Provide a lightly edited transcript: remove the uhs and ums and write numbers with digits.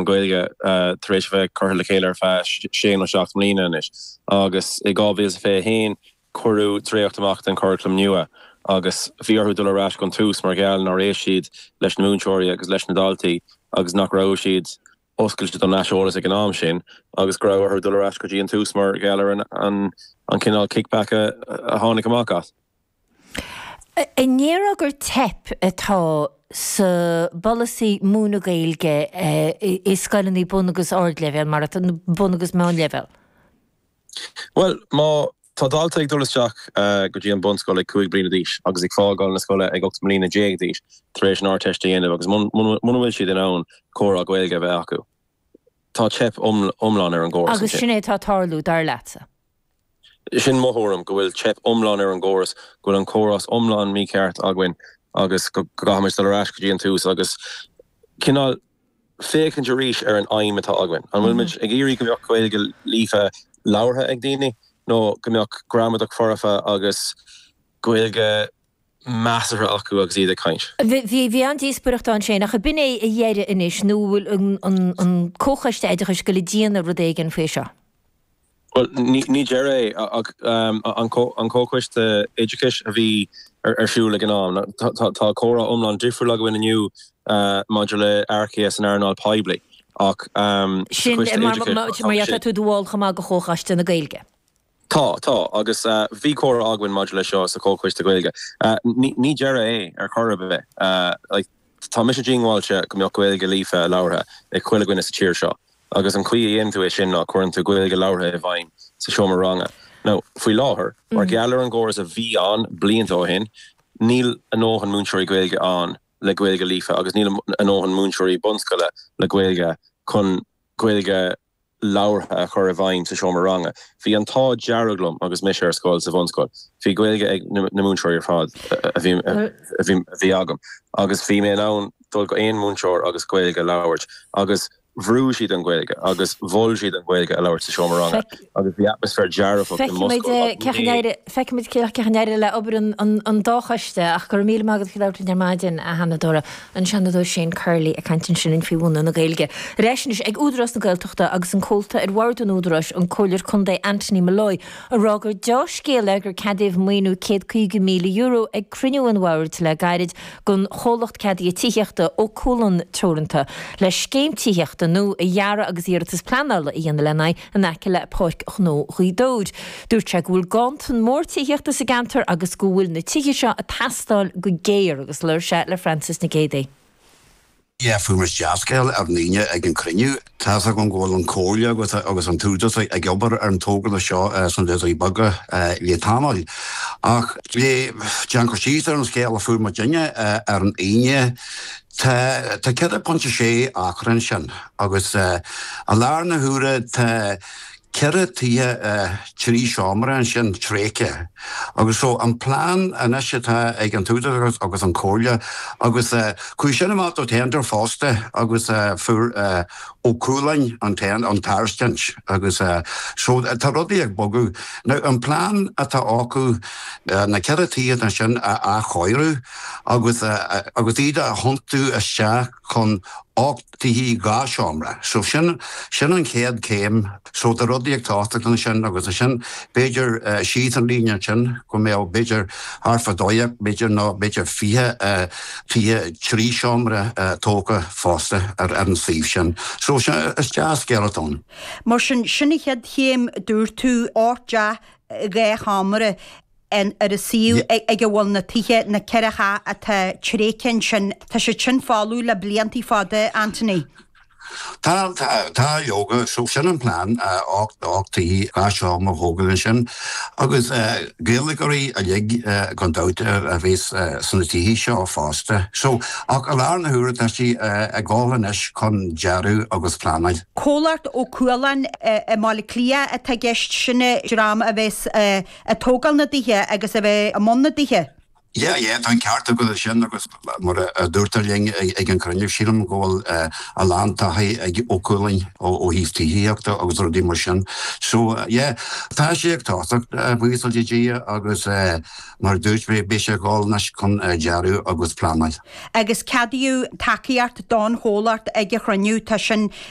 churaclam Gaeilge tar éis a bheith curtha le chéile ar feadh sé nó 7 mbliana anois agus i 2021 cuireadh dréacht amach den churaclam nua agus bhí orthu dul ar ais gon tús mar gheall nár éist siad leis na múinteoirí agus leis na daltaí agus nach raibh siad oscailte don aiseolas ag an am sin agus go raibh orthu dul ar ais go dtí an tús mar gheall ar an cineál kickback a tháinig amach as. An ndéarfá gur teip atá sa bpolasaí múineadh Gaeilge i scoileanna bun agus ardleibhéal, mar atá, bun agus meánleibhéal? Bhuel, má tá dalta ag dul isteach go dtí an bunscoil ag 5 bliana d'aois agus ag fágáil na scoile ag 18 mbliana d'aois tar éis an Ardteist a dhéanamh agus muna bhfuil siad in ann comhrá Gaeilge a bheith acu, tá teip iomlán ar an gcóras ansin. Agus sin é atá ag tarlú, dar leatsa? Sin mo thuairim, go bhfuil teip iomlán ar an gcóras, go bhfuil an córas iomlán mícheart againn agus go gcaithfimid dul ar ais go dtí an tús agus cineál féachaint arís ar an aidhm atá againn. An bhfuil muid ag iarraidh go mbeadh Gaeilge líofa labhartha ag daoine nó go mbeadh gramadach foirfe agus Gaeilge measartha acu agus iad ag caint? Bhí an-díospóireacht ann sin, ach ab in é a dheireadh anois nó an bhfuil an Comhchoiste Oideachais ag goil ag déanamh rud éigin faoi seo? Bhuel, ní deireadh é ach an Comhchoiste Oideachais a bhí ar siúl ag an am. Tá comhrá iomlán difriúil againn inniu maidir le earcaithe san earnáil poiblí ach sa Sin Choiste mar Oideachais tá mar tá tú i do bhall chomh maith de Chomhchoiste na Gaeilge. Tá, tá, agus bhí comhrá againn maidir leis seo sa Chomhchoiste Gaeilge. Ní deireadh é ar chor ar bith. Tá mise díongbháilte go mbeadh Gaeilge líofa labhartha ag chuile dhuine sa tír seo. Agus an chaoi a dhéanann tú é sin ná cuireann tú Gaeilge labhartha i bhfeidhm sa seomra ranga. Now, faoi láthair, mar gheall ar an gcóras a bhí ann blianta ó shin, níl a ndóthain múinteoirí Gaeilge ann le Gaeilge líofa agus níl a ndóthain múinteoirí bunscoile le Gaeilge chun Gaeilge labhartha a chur i bhfeidhm sa seomra ranga. Bhí an t-ádh dearg liom agus mise ar scoil sa bhunscoil. Bhí Gaeilge ag na múinteoirí ar fad a bhí agam agus bhí mé in ann dul go aon mhúinteoir agus Gaeilge a labhairt agus bhrúigh siad an Ghaeilge agus mhol siad an Ghaeilge a labhairt sa seomra ranga agus bhí atmaisféar dearfach i mo scoil agus ní Feicfimid cén chaoi a n-éireoidh le obair an dá choiste ach go raibh míle maith agat as labhairt linn ar maidin, a Sheanadóra, an Seanadóir Shane Curley ag caint ansin faoi mhúineadh na Gaeilge. Ar ais anois ag Údarás na Gaeltachta agus an comhalta ar bhord an Údaráis, an Comhairleoir Contae Anthony Molloy, ag rá gur deá-scéal é gur ceadaíodh maoiniú €150,000 ag cruinniú an bhoird le gairid don chomhlacht ceadaithe tithíochta Ó Cualáin Teoranta le scéim tithíochta nua a dhearadh agus iarratas pleanála a dhéanamh lena aghaidh in aice le Páirc Ghnó Ghaoth Dobhair. Dúirt sé go bhfuil ganntan mór tithíochta sa gceantar agus go bhfuil na tithe seo ag teastáil go géar agus labhair sé le Francis Nic Géadaigh. Yeah, fuair muid dea-scéal ar an Aoine ag an cruinniú. Tá's agam go bhfuil an Comhairle agus agus an tÚdarás ag obair ar an togra seo sna Doirí Beaga le tamall. Ach le déan cur síos ar an scéal a fuair muidinne ar an Aoine, tá tá 4.6 acra ansin agus i láthair na huaire tá 4 tithe 3 seomra ansin tréigthe agus so an plean anois atá ag an tÚdarás agus an Chomhairle agus chuaigh sin amach do tender fosta agus fuair Ó Cualáin an an tairiscint agus so tá rudaí ag bogadh. Now an plean atá acu na 4 tithe ansin a athchóiriú agus agus iad a thiontú isteach chun 8 tithe 2 seomra. So sin, sin an chéad chéim. So tá rudaí ag tosacht ansin agus ansin b'fhéidir síos an líne ansin go mbeadh b'fhéidir thart fá 12 b'fhéidir nó b'fhéidir 20 tithe 3 seomra tógtha fosta ar an suíomh sin. So sin, is dea-scéal atá ann. Mar sin, sin an chéad chéim, dúirt tú, 8 dteach 2 sheomra. ar an suíomh ag a bhfuil na tithe, na ceithre theach atá tréigthe ansin, tá siad sin folamh le blianta fada, Anthony. Tá, tá, leoga, so sin an plean, 8 tithe, 2 seomra a thógáil ansin agus Gaeilgeoirí uilig gan dabht a bheas sna tithe seo fosta. So, ach i láthair na huaire tá sí ag dul anois chun dearadh agus pleanáil. Comhlacht Ó Cualáin i mBaile Átha Cliath atá i gceist, sin an dream a bheas Ag tógáil na dtithe agus a bheith i mbun na dtithe. Yeah, yeah, tá an ceart agat ansin agus mar a dúrtar linn ag an cruinniú, sílim go bhfuil a lán taithí ag Ó Cualáin ó thaobh tithíochta agus rudaí mar sin. So, yeah, tá sé ag tosacht, buíochas le Dia agus mar a dúirt mé, beidh sé ag dul anois chun dearadh agus pleanáil. Agus ceadaíodh tacaíocht don chomhlacht ag an chruinniú, tá sin.